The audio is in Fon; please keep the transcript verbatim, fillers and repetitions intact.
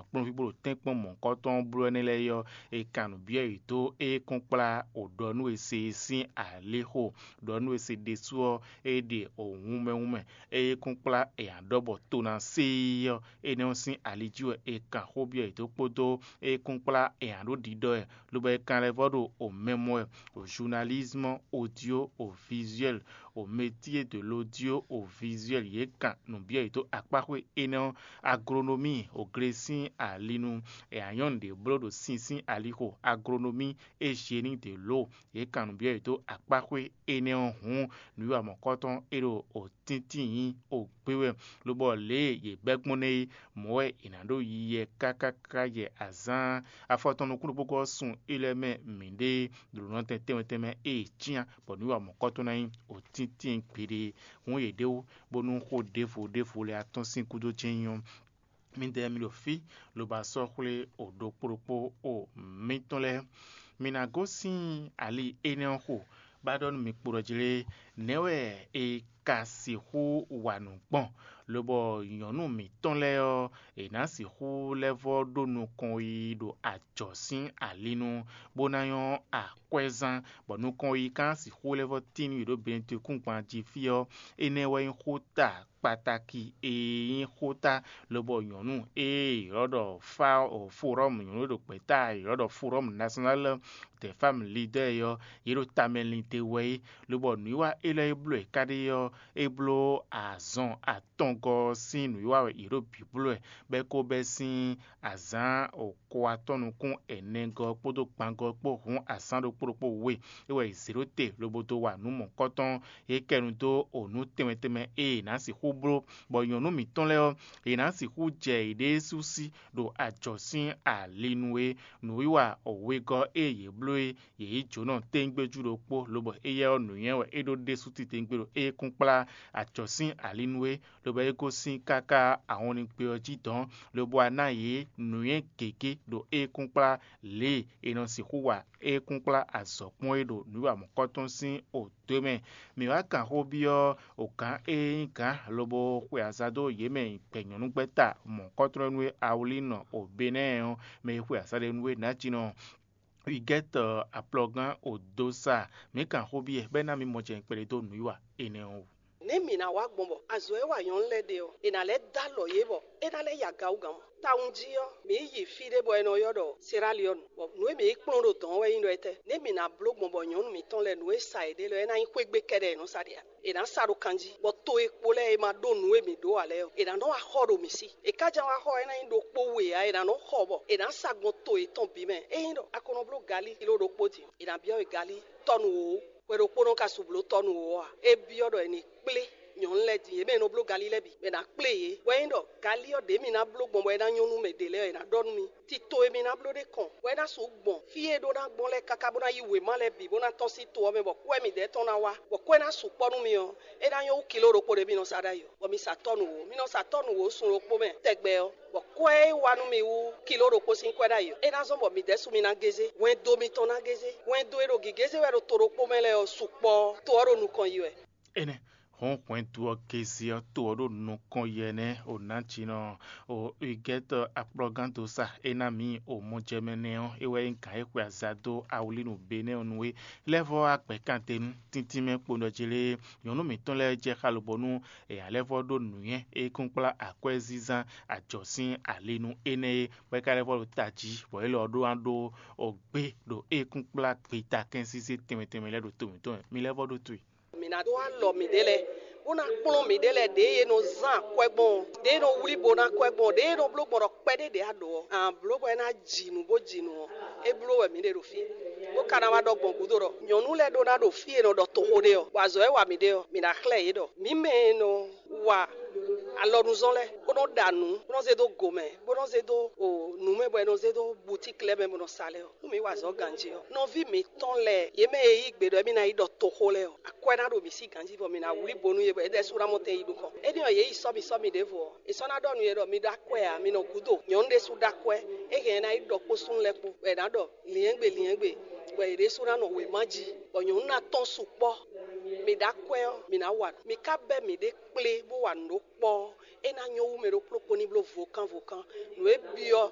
kplɔ́nví bó ɖo tɛ́nkpɔ́n mɔ̌hunkɔtɔn bló ɛnɛ́ lɛ́ɛ é ɔ́, è kan nǔ byɔ́ yě dó é kún kplá o ɖɔ nú è se é sín alixo. Ɖɔ nú è se ɖésú ɔ́, é ɖe o wunmɛ wunmɛ. É kún kplá è nǎ ɖɔ bɔ to ná sé é ɔ́, énɛ́ ɔ́ sín ali jí wɛ è kan xó byɔ́ yě dó kpódó é kún kplá è nǎ ɖó ɖiɖɔ ɛ, lobo è kan lɛ́ vɔ́ ɖo o mɛmɔ ɛ, o journalisme audio o visuel, o métier de l'audio o visuel. Yě kan nǔ byɔ́ yě dó akpáxwé énɛ́ ɔ́, agronomie, o glesín alinu, è anyɔ́nu ɖě bló ɖo sin sín alixo, agronomie et génie de l'eau. Yě kan nǔ byɔ́ yě dó akpáxwé énɛ́ ɔ́ hǔn, nǔwiwa mɔ̌kɔtɔn é ɖo o tíntín nyí o gbé wɛ, lobɔ lě e yě bɛ́ gbɔn nɛ́ é, mɔ̌ wɛ è nǎ ɖo yiyi ɛ káká káká jɛ azǎn afɔtɔn nukúnnú gbogbo ɔ́ sun é lɛ́ɛ mɛ mǐɖée ɖo nɔtɛn tɛnmɛ tɛnmɛ e è cyán bɔ nǔwiwa mɔ̌kɔtɔn ná nyí o tíntín gbeɖé. Hǔn yě ɖe wú bónú xó ɖěvo ɖěvo lɛ́ɛ atɔ́n sín gúdo jɛ́n nyí ɔ́, midɛɛ mi ɖo fí, lobo sɔ́ xwlé o ɖokpó ɖokpó o mitɔn lɛ́ɛ. Mi ná gosín ali énɛ́ ɔ́ xo, bó ná ɖɔ nú mi kpo ɖɔ jlé, nɛ̌ wɛ è ka sixú wa nǔ gbɔn, lobɔ nyɔ̌nu mǐtɔn lɛ́ɛ ɔ́, è nǎ sixú lɛ́ vɔ́ ɖó nukɔn yiyi ɖo ajɔ̌ sín ali nu, bó ná nyɔ́ akwɛ́zán, bɔ nukɔn yiyi ka ná sixú lɛ́ vɔ́ tín nú yě ɖo Benɛtwekúngban jí fí ɔ́, énɛ́ wɛ nyí xóta kpataki e nyí xóta, lobɔ nyɔ̌nu e è ylɔ́ ɖɔ Fawɔ Forɔ́mu, nyɔ̌nu e ɖo gbɛ̌ta è ylɔ́ ɖɔ Forɔ́mu Nasyɔnál dɛ Fámu Lidɛ́ɛ ɔ́, yě ɖo tamɛ lin te wɛ é, lobɔ nǔwiwa élɔ́ e bló è ká ɖe ɔ́, é bló azɔn atɔngɔ́ ɔ́ sín nǔwiwa wɛ yě ɖo bǐ bló wɛ, bɔ é ko bɛ́ sín azǎn ko atɔ́ nukún ɛnɛgɔ́ kpódó gbangɔ́ kpó hun azǎn ɖokpó ɖokpó we. É wɛ è zě ɖó te lobo dó wa nǔ mɔ̌kɔtɔn. É kɛ nu dó o nǔ tɛnmɛ tɛnmɛ e è nǎ sixú bló, bɔ nyɔ̌nu mǐtɔn lɛ́ɛ ɔ́, è nǎ sixú jɛ yěɖée sú sí ɖo ajɔ̌ sín ali nu é. Nǔwiwa wegɔ́ e yě bló é, yě yí jǒnɔ téńgbéjú ɖokpó, lobɔ éyɛ́ ɔ́, nǔnywɛ́ wɛ é ɖó ɖésú titewungbe ɖo ékúnkplá acɔ̌ sín ali nu é, lobo é gosín káká ahɔnlin ɔ́ jí dɔ̌n, lobo wá ná yě nǔnywɛ́ gěgé ɖo ékúnkplá lě e è nɔ sixú wa ékúnkplá azɔ̌ kpɔ́n é ɖo nǔwiwa mɔ̌kɔtɔn sín oto mɛ. Mǐ wá kan xó byɔ́ gǎn e nyí gǎn lobo xwe aza dó yě mɛ gbɛ nyɔ̌nugbɛ́ta mɔ̌kɔntrɔ́nú e Awlínɔ Obenɛ́ɛ ɔ́, mɛ e xwe aza ɖé nú é nǎjínɔ Wigɛ́tɔ aplɔgán Odosa. Mǐ kan xó byɔ́ bɔ é ná mì mɔ jɛ kpɛɖé dó nǔwiwa énɛ́ ɔ́ wú. Nɛ̌ mǐ ná wa gbɔn bɔ azɔ̌ e wa nyɔ̌nu lɛ́ɛ ɖe ɔ́, è nǎ lɛ́ dó alɔ yě bɔ é ná lɛ́ yi aga wú gǎn mɔ? Tawun jí ɔ́, mǐ yi fí ɖé bɔ è nɔ ylɔ́ ɖɔ Seraliɔ́nu, bɔ nǔ e mǐ yi kplɔ́n ɖo dɔ̌n ɔ́ wɛ nyí ɖɔ étɛ́? Nɛ̌ mǐ ná bló gbɔn bɔ nyɔ̌nu mǐtɔn lɛ́ɛ nǔ e sa yě ɖe lɛ́ɛ é ná nyí xwé gbe kɛ́ɖɛ́ è nɔ sa ɖe a? È nǎ sa ɖo kan jí, bɔ to e kpo lɛ́ɛ e ma ɖó nǔ e mǐ ɖó ǎ lɛ́ɛ ɔ́, è nǎ nɔ wá xɔ ɖo mǐ sí. È ká jɛ́n wá xɔ ɔ́, é ná nyí ɖokpó we ǎ, è nǎ nɔ xɔ bɔ è nǎ sa gbɔn to yětɔn bǐ mɛ. Ényí ɖɔ a ko nɔ bló galí kiló ɖokpó din, è nǎ byɔ́ we galí tɔ́nu wǒ. Hwɛ ɖokpónɔ ka su bló tɔ́nu wǒ ǎ. É byɔ́ ɖɔ è nǐ kplé nyɔ̌nu lɛ́ɛ din, yě mɛ e nɔ bló galí lɛ́ɛ bǐ, bɔ è nǎ kplé yě. Hwɛ nyí ɖɔ galí ɔ́ ɖě mǐ ná bló gbɔn bɔ é ná nyɔ́ nú mɛ ɖě lɛ́ɛ ɔ́, è nǎ ɖɔ nú mi. Tito e mi ná bló ɖé kɔn, bɔ é ná sixú gbɔn fí e é ɖó ná gbɔn lɛ́ɛ káká bó ná yí wěma lɛ́ɛ bǐ bó ná tɔ́n sín to ɔ́ mɛ, bɔ kwɛ́ midɛɛ tɔn ná wá, bɔ kwɛ́ ná sukpɔ́ nú mi ɔ́, é ná nyɔ́ wú kiló ɖokpó ɖé mi nɔ sa ɖ'ayǐ ɔ́, bɔ mi sa tɔ́ nǔ wǒ. Mi nɔ sa tɔ́ nǔ wǒ sun ɖokpó mɛ tɛgbɛ ɔ́, bɔ kwɛ́ e wá nú mi wú kiló ɖokpó sín kwɛ́ ɖ'ayǐ ɔ́, é ná zɔ́n bɔ mi ɖɛ̌su mi ná gézé, hwɛndo mitɔn ná gézé. Hwɛndo e ɖo gěgézé wɛ ɖo to ɖokpó mɛ lɛ́ɛ ɔ́, sukpɔ́ to ɔ́ ɖo nukɔn yi wɛ. Énɛ́ hɔn hwɛndo ɔ́ kéze ɔ́ to ɔ́ ɖo nukɔn yɛ nɛ́ o nǎjínɔ o Igɛ́tɔ akplɔ́gán dó sa é ná mǐ o mɔjɛmɛ nɛ́ ɔ́, é wɛ nyí gǎn e xwe aza dó awlínu Benɛ́ɛ ɔ́ nu é. Lɛ́vɔ́ agbɛ̌kantɛnú tíntín mɛ kpo nɔ jlé nyɔ̌nu mǐtɔn lɛ́ɛ jɛ xá lobɔ́ nú è ǎ lɛ́ vɔ́ ɖó nǔnywɛ́ e kún kplá akwɛ́zínzán ajɔ̌ sín ali nú énɛ́ é, bɔ é ka lɛ́ vɔ́ ɖo tají, bɔ élɔ́ ɔ́ ɖó ná ɖó o gbé ɖo e kún kplá gbeta kɛ́nsízé tɛnmɛ tɛnmɛ lɛ́ɛ ɖo to mǐtɔn mɛ. Mi lɛ́ vɔ́ ɖó towe. Mǐ ná dó alɔ mǐɖée lɛ́ɛ, bó ná kplɔ́n mǐɖée lɛ́ɛ ɖěe è nɔ zán akwɛ́ gbɔn ɔ́, ɖěe è nɔ wlí bo ná akwɛ́ gbɔn ɔ́, ɖěe è nɔ bló gbɔn ɖɔ kpɛɖé ɖě a ɖǒ ɔ́, an blǒ bɔ é ná ji nǔ bó ji nǔ ɔ́, é bló wɛ mǐ ɖe ɖo fí, bó ka ná wá ɖɔ gbɔn gǔdo ɖɔ nyɔ̌nu lɛ́ɛ ɖó ná ɖo fí e è nɔ ɖɔ toxo ɖe ɔ́, bɔ azɔ̌ e wa mǐ ɖe ɔ́, mǐ ná xlɛ́ yě ɖɔ mǐ mɛ e nɔ wa alɔnuzɔn lɛ́ɛ, bó nɔ́ ɖa nǔ, bó nɔ́ zé dó gomɛ, bó nɔ́ zé dó o nǔ mɛ, bɔ è nɔ zé dó butíki lɛ́ɛ mɛ bó nɔ́ sa lɛ́ɛ ɔ́, nú mǐ wa azɔ̌ ganjí ɔ́, nɔví mǐtɔn lɛ́ɛ, yě mɛ e yí gbe ɖɔ émí ná yi ɖɔ toxo lɛ́ɛ ɔ́, akwɛ́ ná ɖo mǐ sí ganjí, bɔ mǐ ná wlí bo nú yě, bɔ yě ɖésú ná mɔ tɛn yi nukɔn. Énɛ́ ɔ́, yě yi sɔ́ mì sɔ́ mì ɖěvo ɔ́, è sɔ́ ná ɖɔ nú yě ɖɔ mi ɖó akwɛ́ ǎ, mi nɔ gǔdo. Nyɔ̌nu ɖésú ɖó akwɛ́, é hɛn ɛ ná yi ɖɔ kpó súnnu lɛ́ɛ kpó, bɔ è nǎ ɖɔ lyɛ̌ngbè lyɛ̌ngbè, bɔ yě ɖésú ná nɔ wěma jí, bɔ nyɔ̌nu ná tɔ́n sukpɔ́. Mi ɖó akwɛ́ ɔ́, mi ná wa nǔ. Mi ka bɛ́ mǐɖée kplé bó wa nǔ ɖó kpɔ́ ɔ́, é ná nyɔ́ wú mɛ ɖokpó ɖokpó ní bló vokán vokán. Nǔ e byɔ́